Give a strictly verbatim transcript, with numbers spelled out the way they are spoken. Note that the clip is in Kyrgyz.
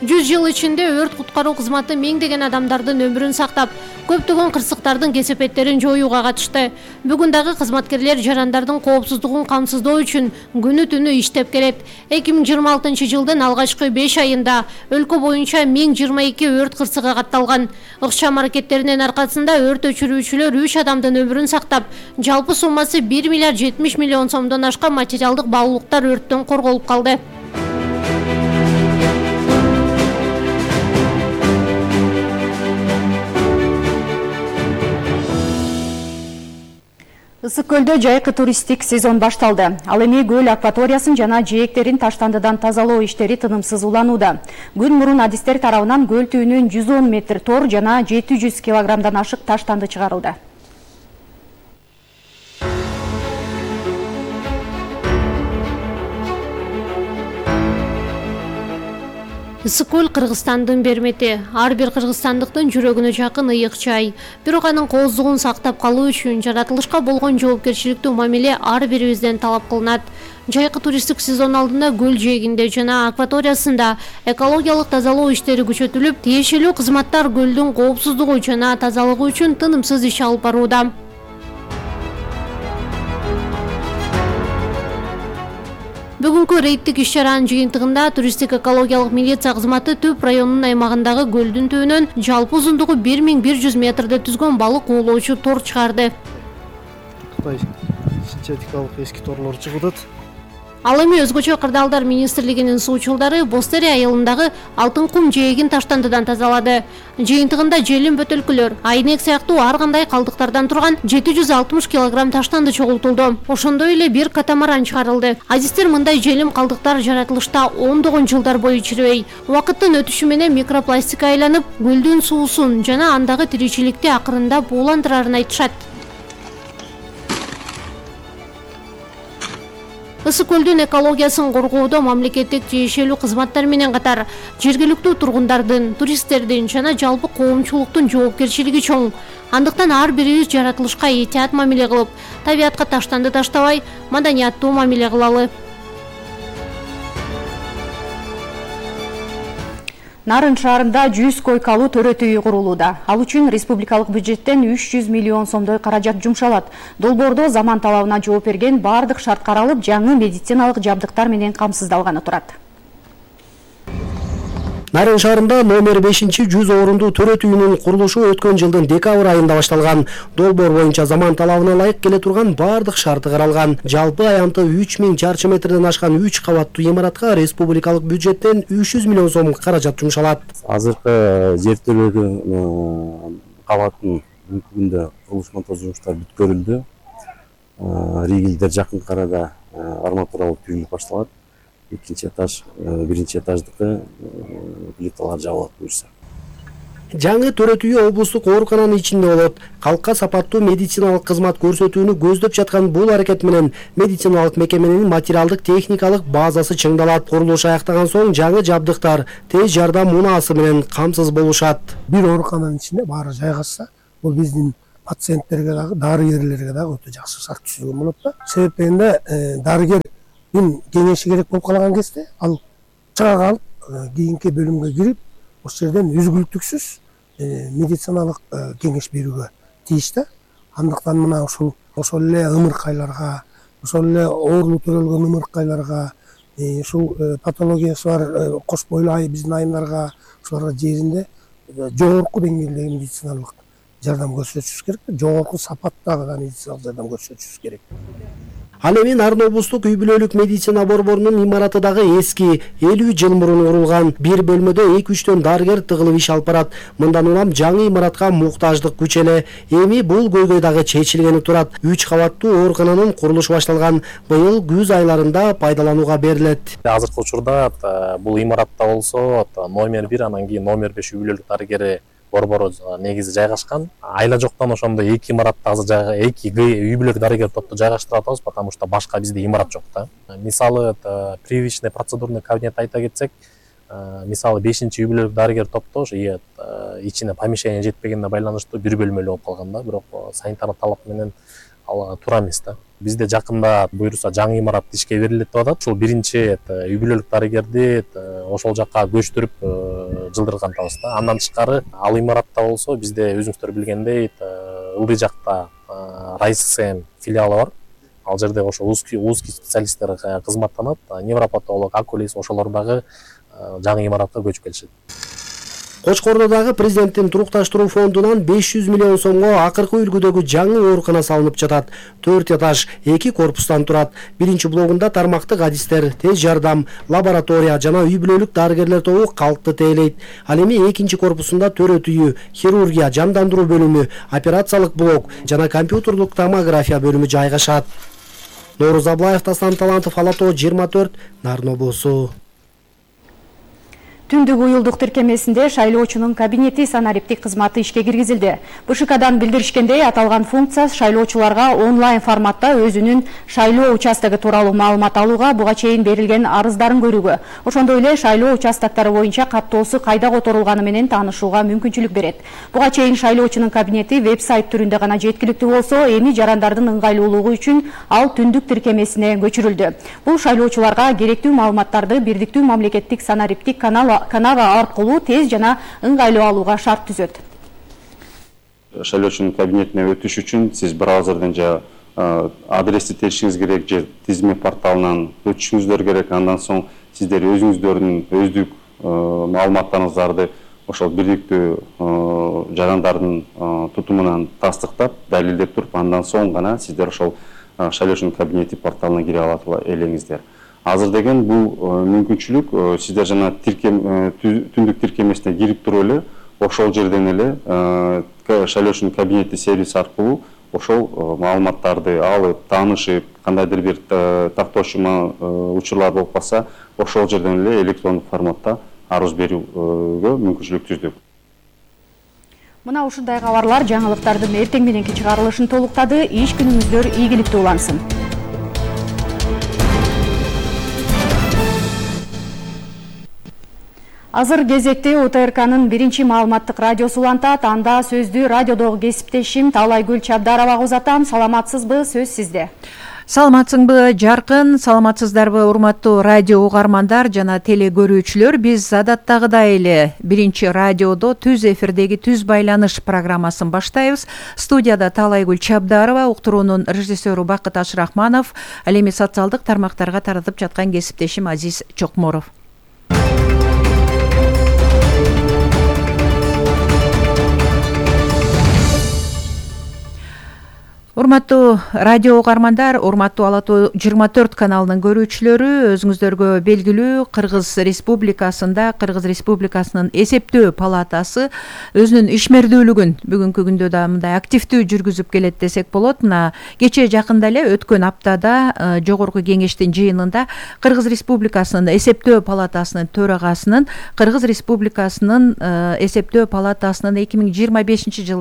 жүз жыл ичинде өрт куткаруу кызматы миңдеген адамдардын өмүрүн сактап, көптөгөн кырсыктардын кесепеттерин жоюуга катышты. Бүгүн дагы кызматкерлер жарандардын коопсуздугун камсыздоо үчүн күнү түнү иштеп келет. эки миң жыйырма алтынчы жылдын алгачкы беш айында өлкө боюнча миң жыйырма эки өрт кырсыгы катталган. Ыкчам аракеттеринин аркасында өрт өчүрүүчүлөр үч адамдын өмүрүн сактап, жалпы суммасы бир миллиард жетимиш миллион сомдон ашкан материалдык баалуулуктар өрттөн корголуп калды. Ысык көлдө жайкы туристтик сезон башталды. Ал эми көл акваториясын жана жээктерин таштандыдан тазалоо иштери тынымсыз уланууда. Күн мурун адистер тарабынан көл түбүнөн жүз он метр тор жана жети жүз килограммдан ашык таштанды чыгарылды. Ысык көл Кыргызстандын бермети. Ар бир кыргызстандыктын жүрөгүнө жакын ыйык чай. Бирок анын кооздугун сактап калуу үчүн жаратылышка болгон жоопкерчиликтүү мамиле ар бирибизден талап кылынат. Жайкы туристтик сезон алдында көл жээгинде жана акваториясында экологиялык тазалоо иштери күчөтүлүп, тиешелүү кызматтар көлдүн коопсуздугу жана тазалыгы үчүн тынымсыз иш алып барууда. Бүгүнкү рейдтик иш-чаранын жыйынтыгында туристтик экологиялык милиция кызматы Төп районунун аймагындагы көлдүн түбүнөн жалпы узундугу бир миң бир жүз метрди түзгөн балык уулоочу тор чыгарды. Кытай синтетикалык эски торлор чыгып атат. Ал эми өзгөчө кырдаалдар министрлигинин суучулдары Бостери айылындагы Алтын кум жээгин таштандыдан тазалады. Жыйынтыгында желим бөтөлкүлөр, айнек сыяктуу ар кандай калдыктардан турган жети жүз алтымыш килограмм таштанды чогултулду. Ошондой эле бир катамаран чыгарылды. Азистер мындай желим калдыктар жаратылышта ондогон жылдар бою чирибей, убакыттын өтүшү менен микропластикка айланып, көлдүн суусун жана андагы тиричиликти акырында бууландырарын айтышат. Ысык көлдүн экологиясын коргоодо мамлекеттик тиешелүү кызматтар менен катар жергиликтүү тургундардын, туристтердин жана жалпы коомчулуктун жоопкерчилиги чоң. Андыктан ар бирибиз жаратылышка этият мамиле кылып, табиатка таштанды таштабай, маданияттуу мамиле кылалы. Нарын шаарында жүз койкалуу төрөтүү үй курулууда. Ал үчүн республикалык бюджеттен үч жүз миллион сомдой каражат жумшалат. Долбоордо заман талабына жооп берген бардык шарт каралып, жаңы медициналык жабдыктар менен камсыздалганы турат. Нарын шаарында номер бешинчи жүз орундуу төрөтүү үйүнүн курулушу өткөн жылдын декабрь айында башталган. Долбоор боюнча заман талабына ылайык келе турган бардык шарты каралган. Жалпы аянты үч миң чарчы метрден ашкан үч кабаттуу имаратка республикалык бюджеттен үч жүз миллион сом каражат жумшалат. Азыркы жертөлөгүн кабаттын бүгүндө курулуш монтаж жумуштары бүткөрүлдү. Ригелдер жакынкы арада арматуралык түйүлүп башталат. Экинчи этаж, биринчи этаждыкы плиталар жабылат буюрса. Жаңы төрөтүү үй облустук оорукананын ичинде болот. Калкка сапаттуу медициналык кызмат көрсөтүүнү көздөп жаткан бул аракет менен медициналык мекеменин материалдык техникалык базасы чыңдалат. Курулуш аяктаган соң жаңы жабдыктар тез жардам унаасы менен камсыз болушат. Бир оорукананын ичинде баары жайгашса, бул биздин пациенттерге дагы, дарыгерлерге дагы өтө жакшы шарт түзүлгөн болот да. Себеп дегенде дарыгер кеңеши керек болуп калган кезде ал чыга калып, кийинки бөлүмгө кирип, ошол жерден үзгүлтүксүз медициналык кеңеш берүүгө тийиш да. Андыктан мына ушул ошол эле ымыркайларга, ошол эле оорулуу төрөлгөн ымыркайларга, ушул патологиясы бар кош бойлуу биздин айымдарга, ушуларга жеринде жогорку деңгээлдеги медициналык жардам көрсөтүшүбүз керек, жогорку сапаттагы медициналык жардам көрсөтүшүбүз керек. Ал эми Нарын облустук үй бүлөлүк медицина борборунун имараты дагы эски, элүү жыл мурун курулган. Бир бөлмөдө эки үчтөн дарыгер тыгылып иш алып барат. Мындан улам жаңы имаратка муктаждык күчеле. Эми бул көйгөй дагы чечилгени турат. үч кабаттуу оорукананын курулушу башталган. Быйыл күз айларында пайдаланууга берилет. Азыркы учурда бул имаратта болсо номер бир, анан кийин номер беш үй бүлөлүк дарыгери борбору негизи жайгашкан. Айла жоктон ошондо эки имаратта азыр эки үй бүлөлүк дарыгер топту жайгаштырып атабыз, потому что башка бизде имарат жок да. Мисалы привычный процедурный кабинет айта кетсек, мисалы бешинчи үй бүлөлүк дарыгер топто ошо ичине помещение жетпегенине байланыштуу бир бөлмөлүү болуп калган да, бирок санитарлык талап менен ал туура эмес да. Бизде жакында буюрса жаңы имарат ишке берилет деп атат. Ушул биринчи үй бүлөлүк дарыгерди ошол жакка көчтүрүп жылдыргантабыз да. Андан тышкары ал имаратта болсо бизде өзүңүздөр билгендей ылдый жакта РайССМ филиалы бар. Ал жерде ошо узкий узкий специалисттер кызматтанат. Невропатолог, окулист ошолор дагы жаңы имаратка көчүп келишет. Кочкордодагы президенттин турукташтыруу фондунан беш жүз миллион сомго акыркы үлгүдөгү жаңы оорукана салынып жатат. төрт этаж, эки корпустан турат. Биринчи блогунда тармактык адистер, тез жардам, лаборатория жана үй бүлөлүк дарыгерлер тобу калкты тейлейт. Ал эми экинчи корпусунда төрөт үйү, хирургия, жандандыруу бөлүмү, операциялык блок жана компьютердук томография бөлүмү жайгашат. Нооруз Аблаев, Таслан Талантов, Ала Тоо жыйырма төрт, Нарын облусу. Түндүк уюлдук тиркемесинде шайлоочунун кабинети санариптик кызматы ишке киргизилди. БШКдан билдиришкендей, аталган функция шайлоочуларга онлайн форматта өзүнүн шайлоо участогу тууралуу маалымат алууга, буга чейин берилген арыздарын көрүүгө, ошондой эле шайлоо участоктору боюнча каттоосу кайда которулганы менен таанышууга мүмкүнчүлүк берет. Буга чейин шайлоочунун кабинети веб-сайт түрүндө гана жеткиликтүү болсо, эми жарандардын ыңгайлуулугу үчүн ал түндүк тиркемесине көчүрүлдү. Бул шайлоочуларга керектүү маалыматтарды бирдиктүү мамлекеттик санариптик канал канава аркылуу тез жана ыңгайлуу алууга шарт түзөт. Шайлоочунун кабинетине өтүш үчүн сиз браузерден же адрести теришиңиз керек, же тизме порталынан өтүшүңүздөр керек. Андан соң сиздер өзүңүздөрдүн өздүк маалыматтарыңыздарды ошол бирдиктүү жарандардын тутумунан тастыктап, далилдеп туруп, андан соң гана сиздер ошол шайлоочунун кабинети порталына кире алат элеңиздер. Азыр деген бул мүмкүнчүлүк сиздер жана түндүк тиркемесине кирип туруп эле ошол жерден эле шайлоочунун кабинети сервис аркылуу ошол маалыматтарды алып, таанышып, кандайдыр бир тактоошма учурлар болуп калса, ошол жерден эле электрондук форматта арыз берүүгө мүмкүнчүлүк түздүк. Мына ушундай кабарлар жаңылыктардын эртең мененки чыгарылышын толуктады. Иш күнүңүздөр ийгиликтүү улансын. Азыр кезекте УТРКнын биринчи маалыматтык радиосу улантат. Анда сөздү радиодогу кесиптешим Таалайгүл Чабдаровага узатам. Саламатсызбы? Сөз сизде. Саламатсыңбы, Жаркын? Саламатсыздарбы, урматтуу радио угармандар жана теле көрүүчүлөр? Биз адаттагыдай эле биринчи радиодо түз эфирдеги түз байланыш программасын баштайбыз. Студияда Таалайгүл Чабдарова, уктуруунун режиссеру Бакыт Ашрахманов, ал эми социалдык тармактарга таратып жаткан кесиптешим Азиз Чокморов. Урматтуу радио угармандар, урматтуу Ала Тоо жыйырма төрт каналынын көрүүчүлөрү, өзүңүздөргө белгилүү Кыргыз Республикасында Кыргыз Республикасынын эсептөө палатасы өзүнүн ишмердүүлүгүн бүгүнкү күндө да мындай активдүү жүргүзүп келет десек болот. Мына кечээ жакында эле өткөн аптада жогорку кеңештин жыйынында Кыргыз Республикасынын эсептөө палатасынын төрагасынын Кыргыз Республикасынын эсептөө палатасынын эки миң жыйырма бешинчи жылда